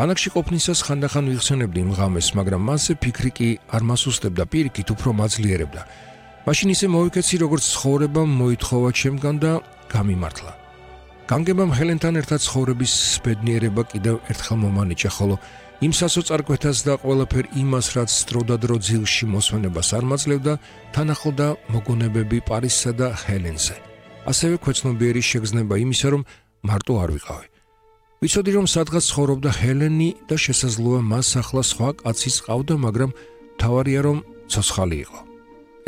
ბანაკში ყოფნისას ხანდახან ვიხსენებდი იმ ღამეს, მაგრამ მასზე ფიქრი კი არ მასუსტებდა, პირიქით უფრო მაძლიერებდა. მაშინ ისე მოვიქეცი, როგორც ცხოვრებამ მოითხოვა ჩემგან და გამიმართლა. განგებამ ჰელენთან ერთად ცხოვრების ბედნიერება კიდევ ერთხელ მომანიჭა, ხოლო იმ სასოწარკვეთას და ყველაფერ იმას, რაც დროდადრო ძილში მოსვენებას არ მაძლევდა, თან ახლდა მოგონებები პარიზსა და ჰელენზე. ასევე ქვეცნობიერი შეგრძნება იმისა, რომ მარტო არ ვიყავი. ვიცოდი, რომ სადღაც ცხოვრობდა ჰელენი და შესაძლოა მას ახლა სხვა კაციც ყავდა, მაგრამ მთავარია, რომ ცოცხალი იყო.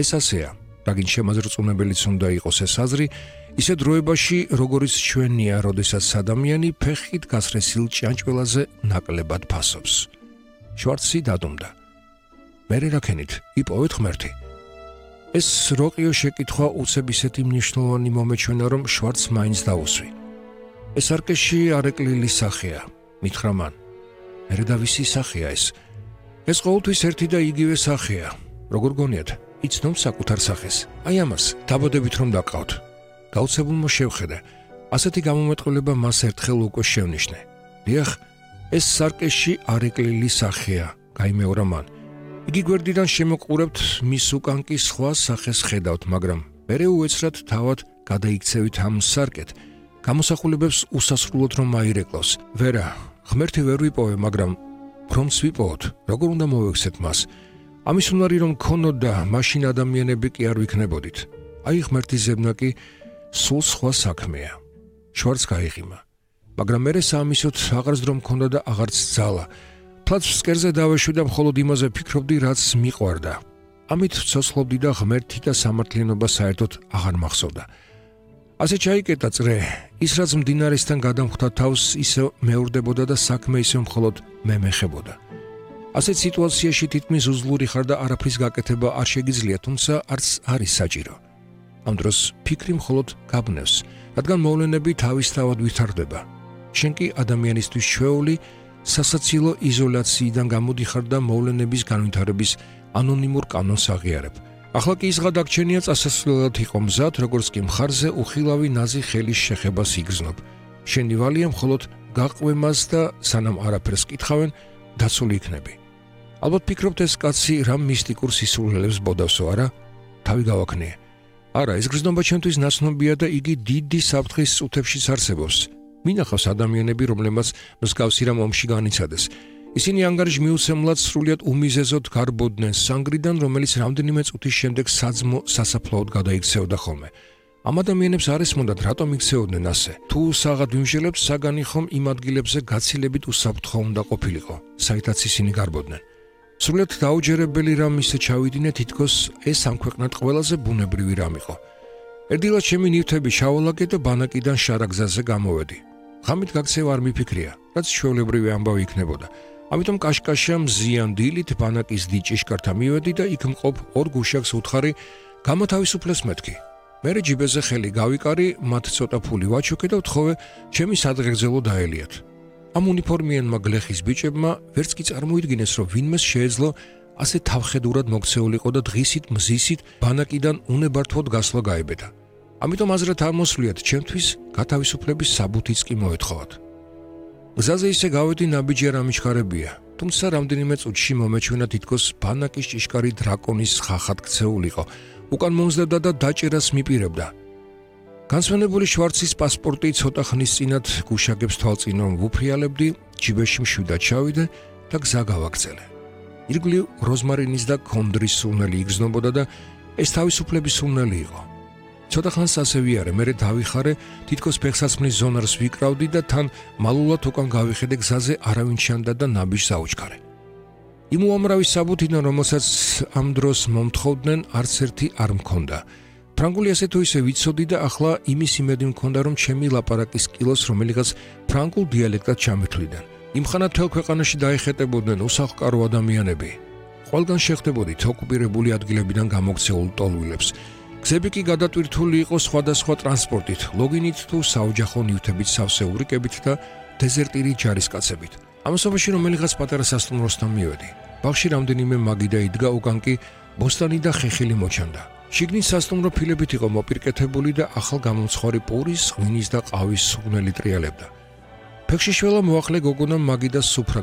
ეს ასეა, რაგინ შემაზრწუნებელიც უნდა იყოს ეს აზრი, ისე დროებაში, როგორიც ჩვენია, როდესაც ადამიანი ფეხით გასრესილ ჭიანჭველაზე ნაკლებად ფასობს. შვარცი დადუმდა. მერე რაკენით, იპოვეთ ღმერთი. ეს როყიო შეკითხვა უცებ ისეთი მნიშვნელოვანი მომეჩვენა, რომ შვარცს მაინც დაუსვი. ეს არკეშიარეკლილი სახეა, მითხრა მან. მერე და ვისი სახეა ეს? ეს ყოველთვის ერთი და იგივე სახეა. როგორ გონიათ, იცნობ საკუთარ სახეს? აი ამას, დაბადებით რომ დაკავთ. გაუცებულმა შევხედე. ასეთი გამომეტყველება მას ერთხელ უკვე შევნიშნე. დიახ, ეს სარკეშიარეკლილი სახეა, გაიმეორა მან. იგი გვერდიდან შემოყურებთ, მის უკან კი სხვა სახეს ხედავთ, მაგრამ მერე უეცრად თავად გადაიქცევით ამ სარკეთ. გამოსახულებებს უსასრულოდ რომ აირეკლავს. ვერა, ღმერთი ვერ ვიპოვე, მაგრამ რომც ვიპოვოთ, როგორ უნდა მოვექცეთ მას? ამის უნარი რომ ქონოდა, მაშინ ადამიანები კი არ ვიქნებოდით. აი ღმერთის ზებნა კი სულ სხვა საქმეა. შვარცს გაიღიმა. მაგრამ მერე საამისოდ აღარც დრო მქონდა და აღარც ძალა. ფლაც ფსკერზე დავეშვი და მხოლოდ იმაზე ფიქრობდი, რაც მიყვარდა. ამით ვცოცხლობდი და ღმერთი და სამართლიანობა საერთოდ აღარ მახსოვდა. ასე ჩაიკეტა წრე, ის რაც მდინარესთან გადამხვდა თავს, ისე მეორდებოდა და საქმე ისე მხოლოდ მე მეხებოდა. ასეთ სიტუაციაში თითქმის უძლური ხარ და არაფრის გაკეთება არ შეგიძლია, თუმცა არც არის საჭირო. ამ დროს ფიქრი მხოლოდ გაბნევს, რადგან მოვლენები თავისთავად ვითარდება. შენ კი ადამიანისთვის ჩვეული სასაცილო იზოლაციიდან გამოდიხარ და მოვლენების განვითარების ანონიმურ კანონს აღიარებ. ახლა კი ის გადაგჩენია წასასვლელად იყო მზად, როგორც კი მხარზე უხილავი ნაზი ხელის შეხებას იგრძნობ. შენი ვალია მხოლოდ გაყვე მას და სანამ არაფერს კითხავენ, დაცული იქნები. ალბათ ფიქრობთ ეს კაცი რამ მისტიკურ სისულელებს ბოდავსო, არა? თავი გავაქნიე. არა, ეს გრძნობა ჩემთვის ნაცნობია და იგი დიდი საფრთხის წუთებშიც არსებობს. მინახავს ადამიანები, რომლებმაც მსგავსი რამ ომში განიცადეს. ისინი ანგარიშმიუცემლად სრულიად უმიზეზოდ გარბოდნენ სანგრიდან, რომელიც რამდენიმე წუთის შემდეგ საძმო სასაფლაოდ გადაიქცეოდა ხოლმე. ამ ადამიანებს არ ესმოდათ, რატომ იქცეოდნენ ასე. თუ საღად ვიმჟელებთ, საგანი ხომ იმ ადგილებზე გაცილებით უსაფრთხო უნდა ყოფილიყო, საითაც ისინი გარბოდნენ. სრულიად დაუჯერებელი რამ ისე ჩავიდინე, თითქოს ეს ამ ქვეყნად ყველაზე ბუნებრივი რამ იყო. ერდილად ჩემი ნივთები ჩავალაგე და ბანაკიდან შარაგზაზე გამოვედი. ღამით გაქცევა არ მიფიქრია, რაც ჩვეულებრივი ამბავი იქნებოდა. ამიტომ კაშკაშა მზიან დილით ბანაკის დიჭიშკართა მივედი და იქ მყოფ ორ გუშაკს უთხარი, გამოთავისუფლეს მეთქი. მერე ჯიბეზე ხელი გავიკარი, მათ ცოტა ფული ვაჩუქე და ვთხოვე, ჩემი სადღეგრძელო დაელიათ. ამ უნიფორმიანმა გლეხის ბიჭებმა ვერც კი წარმოიდგინეს, რომ ვინმეს შეეძლო ასე თავხედურად მოქცეულიყო და დღისით მზისით ბანაკიდან უნებართვოდ გასვლა გაებედა. ამიტომ აზრად არ მოსვლიათ, ჩემთვის გათავისუფლების საბუთიც კი მოეთხოვათ. გზაზე ისე გავედი ნაბიჯი არ ამიჩქარებია, თუმცა რამდენიმე წუთში მომეჩვენა თითქოს ბანაკის ჭიშკარი დრაკონის ხახად ქცეულიყო, უკან მომზდებდა და დაჭერას მიპირებდა. განსვენებული შვარცის პასპორტი ცოტა ხნის წინათ გუშაგებს თვალწინ რომ ვუფრიალებდი, ჯიბეში მშვიდად ჩავიდე და გზა გავაგრძელე. ირგვლივ როზმარინის და ქონდრის სუნელი იგრძნობოდა და ეს თავისუფლების სუნელი იყო. ცოტა ხანს ასე ვიარე, მერე დავიხარე, თითქოს ფეხსაცმლის ზონარს ვიკრავდი და თან მალულად უკან გავიხედე გზაზე არავინ ჩანდა და ნაბიჯს აუჩქარე. იმ უამრავი საბუთიდან, რომელსაც ამ დროს მომთხოვდნენ, არც ერთი არ მქონდა. ფრანგული ასე თუ ისე ვიცოდი და ახლა იმის იმედი მქონდა, რომ ჩემი ლაპარაკის კილოს რომელიღაც ფრანგულ დიალექტად ჩამეთვლიდან. იმხანად მთელ ქვეყანაში დაეხეტებოდნენ უსახლკარო ადამიანები. ყველგან შეხვდებოდით ოკუპირებული ადგილებიდან გამოქცეულ ტოლვილებს. გზები კი გადატვირთული იყო სხვადასხვა ტრანსპორტით, ლოგინით თუ საოჯახო ნივთებით, სავსე ურიკებით და დეზერტირი ჯარისკაცებით. ამასობაში რომელიღაც პატარა სასტუმროსთან მივედი. ბაღში რამდენიმე მაგიდა იდგა, უკან კი ბოსტანი და ხეხილი მოჩანდა. შიგნით სასტუმრო ფილებით იყო მოპირკეთებული და ახალ გამომცხვარი პურის, ღვინის და ყავის სუგნელი ტრიალებდა. ფეხში შველა მოახლე გოგონამ მაგიდას სუფრა